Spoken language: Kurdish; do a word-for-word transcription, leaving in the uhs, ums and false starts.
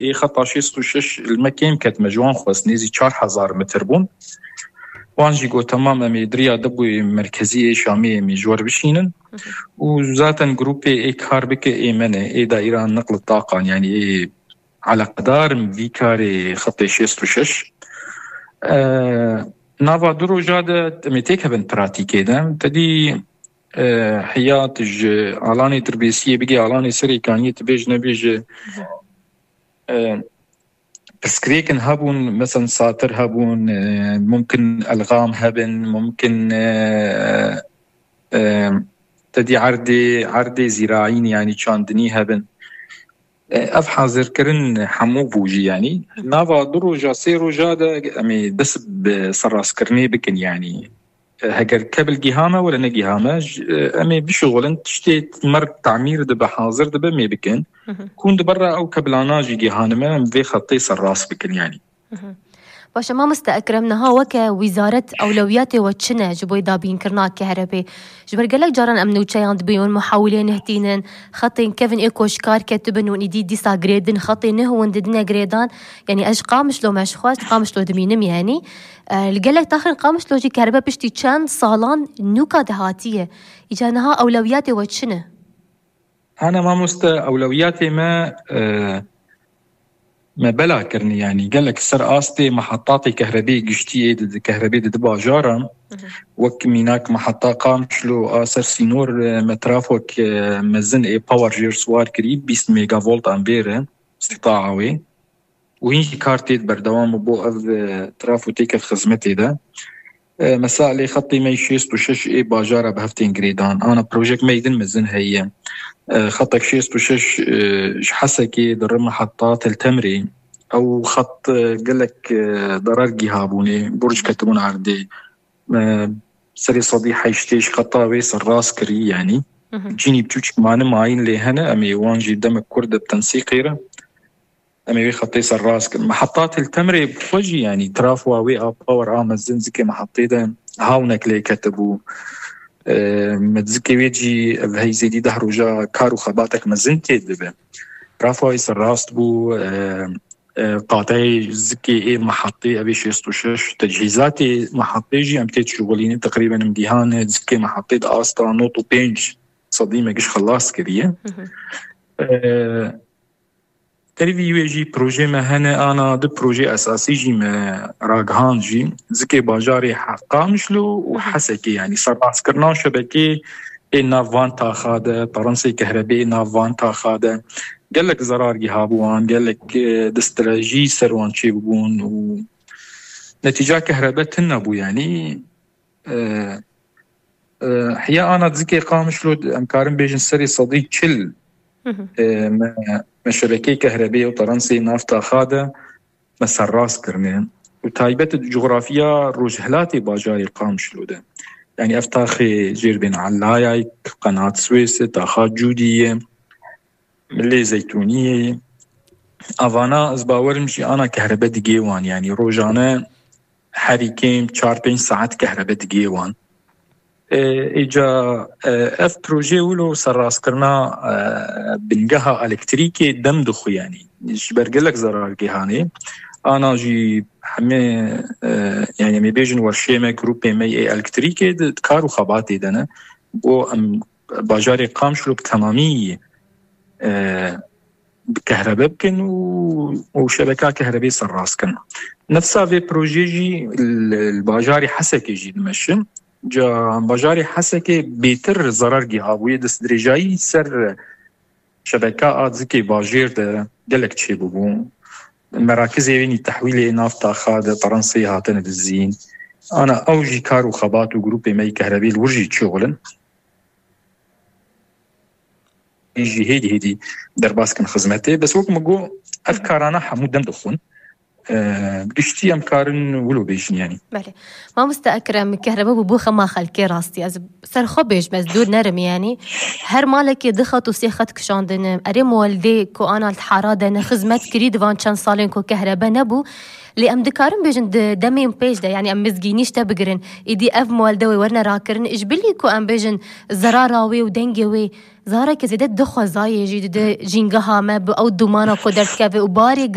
Ê xeta şêst û şeş li me kêm ket, me ji wan xwest, nêzî çar hezar metr bûn. Wan jî got, temam, em ê di riya Dibûyê merkezî ê Şamê em ê ji we re bişînin. Û zaten grûpê ê kar bike ê me ne, ê daîra neql taqan, yanî ê eleqedar in vî karê xetê şêst û şeş. E, nava du roja de em ê têkevin pratîkê de. Te dî, e, heya tu ji alanê Dirbêsiyê bigê alanê Serêkaniyê, tu bêj nebêje, e, pirsgirêkin hebûn, mesela satir hebûn, e, mumkin elxam hebin, mumkin, e, e, te dî erdê, erdê zîraîn, yanî çandinî hebin. E, ev hazirkirin hemû bû jî, yanî nava du roja, sê roja de em ê dest bi serrastkirinê bikin, yanî, e, heger kebil giha me were negiha me, j-, e, em ê bişuxulin, tiştê mer tamîr dibe, hazir dibe, em ê bikin. Hı hı. Ku hûn di ber re ew kebilana jî gihanime, em vê xetê serrast bikin, yanî. Hı hı. Baş e, mamoste Ekrem, niha weke wîzaret ewlewiyatê we çi ne ji bo dabînkirina kehrebê? Ji ber gelek caran em nûçeyan dibînin, muhawilê nihtînin, xetên kevin ê ku ji kar ketibin û îdî dîsa girêdin, xetê nuh hûn didine girêdan. Yanî ez ji Qamişlo me ji xwe, ez Qamişlo dimînim yanî. E, li gelek taxên Qamişlo jî kerbe piştî çend salan nûka dihatiye. Îca niha ewlewiyatê we çi ne? Hene mamoste, ewlewiyatê me, e, me bela kirinî, yanî gelek ser astê mehetatê kehrebê giştî ê di, di kehrebê di, di bajara, Hı hı. wek mînak meheta Qamişlo a ser sînor, e, me trafok, e, mezin ê power jêr siwar kirî, bîst megavolt ambêr e, îstîtaa wê. Û hîn jî kar tê berdewam bo ev, e, trafo têket xizmetê de. E, mesela lê xetê me şêst û şeş ê bajara bi hev tên girêdan. Ana projek me yê din mezin heye. E, xetek şêst û şeş, e, ji Hesekê dirim heta Tel Temrê. Ew xet, e, gelek, e, derar gihabûnê, burc ketibûn erdê. E, serê sedî heştê ji xeta wê serrast kirî, yanî. Hı hı. Cînî biçûçik mane mayîn lê hene, em ê wan jî demek kur de bi tensîqê re. Em ê wê xetê serrast kin. Meheta Til Temrê bi xwe jî, yanî, trafoa wê a power a mezin zikê mehetê de hawnek lê ketibû. E, me zikê wê jî ev hey zêdî deh roja kar û xebatek mezin tê dibe. Trafoa wê serrast bû, e, e, qateyê zikê ê mehetê, ev ê şêst û şeş, tecihîzatê mehetê jî em tê dişuxulînin, teqrîben em gihane zikê mehetê di asta nod û pênc sedî me giş xelas kiriye. Hı hı. E, Derî vî wê jî projê me hene, ana du projê esasî jî me ragihan jî. Zikê bajarê He-, Qamişlo û Hı hı. Hesekê, yanî serrastkirina şebekê ê nav van taxa de, perensê kehrebê ê nav van taxa de. Gelek zerar gihabû wan, gelek, e, distrejî ser wan çêbûbûn û netîca kehrebe tune bû, yanî. E, e, Hiya ana zikê Qamişlo em karin bêjin serê sedî çil, Hı hı. e, me, me şebekeyê kehrebê û terensê nav taxa de me serrast kirine. Û taybet coxrafiya rojhilatê bajarê Qamişlo de. Yanî ev taxê Jêrbên Elayayk, Qenat Swês e, taxa Cûdî ye, Milê Zeytûniyê. Avana ez bawerim jî ana kehrebe digê wan. Yanî rojane herî kêm çar pênc saet kehrebe digê wan. E, îca, e, ev proje wilo serrastkirina, e, bingeha elektrîkê dem dixwe, yanî ji ber gelek zerar gihanê. Ana jî hemê, e, yanî em ê bêjin werşê me, grûpê me yê elektrîkê di kar û xebatê de ne. Bo em bajarê Qamişlo bi temamî, e, bi kehrebe bikin û, û şebeka kehrebê serrast kin. Nefsa vê projê jî li, li bajarê Hesekê jî dimeşin. Ca bajarê Hesekê bêtir zerar gihabûye, destdirêjayî ser şebeka a zikê bajêr de gelek çêbûbû. Merakizê wênî tehwîlê nav taxa de perensê hatine dizîn. Ana ew jî kar û xebat û grûpê me yî kehrebî li wir jî çixulin. Jî hêdî hêdî derbas kin xizmetê. Bes wek min got, ev karana hemû dem dixwin. Giştî em karin wilo bêjin yanî. Belê. Mamoste Ekrem, kehrebe bû bû xema xelkê rastî. Ez ser xwe bêjim, ez dûr nerim yanî. Her malekê du xet û sê xet kişandine. Erê muweldê ku ana li hara de ne xizmet kirî di van çend salên ku kehrebe nebû. Lê em dikarin bêjin di demên pêş de, yanî em mizgînî ji te bigirin. Îdî ev muwelde wê werine rakirin. Ji bilî ku em bêjin zerara wê û dengê wê zareke zêde dixwezayê jî dide jîngeha me bi ew dumana ku derdikeve û barê